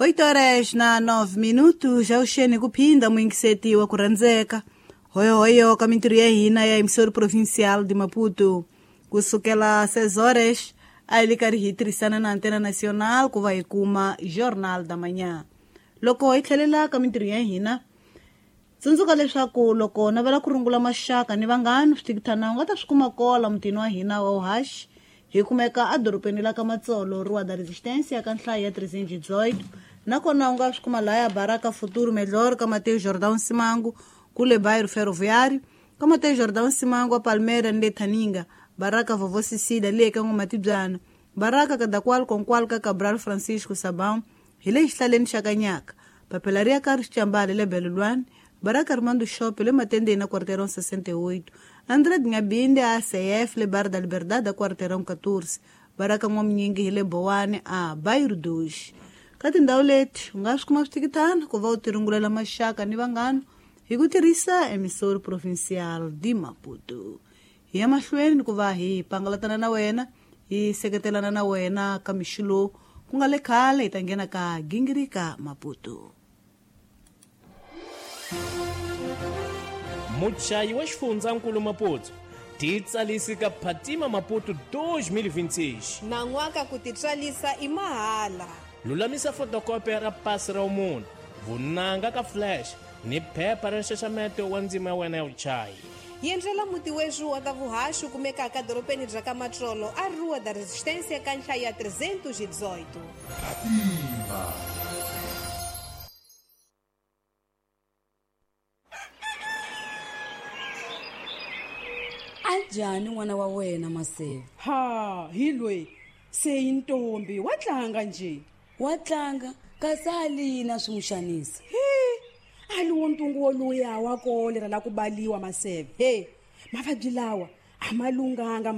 8 horas na 9 minutos, avuxeni ku phinda muyingiseti wa ku rhandzeka hoyohoyo ka mintirho ya hina ya emissora provincial de Maputo. Kusukela 6 horas a hi le karhi hi tirhisana na Antena Nacional ku va hi kuma Jornal da Manhã. Loko hi tlhelela ka mintirho ya hina, tsundzuka leswaku loko navela ku rungula maxaka ni vanghana switikithana u nga ta swi kuma kola mutini wa hina wa uhaxi. Hi kumeka edorobeni la ka Matsolo, Rua da Resistência, ka nhlayo ya 318. Nakona u nga swi kuma laya Baraka Futuro Melhor, ka Mateo Jordão Simango, kule bairro Ferroviário, ka Mateo Jordão Simango, a Palmeira ni le Thaninga, Baraka Vovó Cecília, le ka N'wamatibwana, Baraka Kadakwal Konkwal ka Cabral Francisco Sabão, hi le xihlaleni xa Kanyaka, Papela ri ya ka Rixambali le Belulwani, Baraka Armando Shop le Matendeni na Quarteirão 68, André Ngabinde a ACF le Bar da Liberdade a Quarteirão 14, Baraka N'wamunyingi hi le Bowani a Bairro 2. Ka tindhawu leti u nga swi kuma switikitana ku va u tirungulela maxaka ni vanghana hi ku tirhisa emissora provincial de Maputo. Hi ya mahlweni ku va hi pangalatana na wena, hi seketelana na wena ka mixo lowu ku nga le khale hi ta nghena ka gingirika Maputo. Muchayi wa xifundzankulu Maputo titsalisi ka Phatima Maputo 2026. Nan'waka ku titswalisa i mahala. Lulamisa fotokopi ra pasi ra munhu, vunanga ka flash ni phepha ra nxaxameto wa ndzima ya wena ya vuchayi. Yendlela muti wexu wa ta vuhaxi kumekaka dorobeni bya ka Matsolo a Rua da Resistência ka nhlayo ya 318. Phatima. Anjhani n'wana wa wena Maseve? Ha, hi loyi se i ntombi wa tlanga nje. Wa tlanga kasi a lina swi n'wi xanisa. He, a li wo ntungu woluya wa kolera la ku baliwa Maseve. He, mavabyi lawa a ma lunghanga.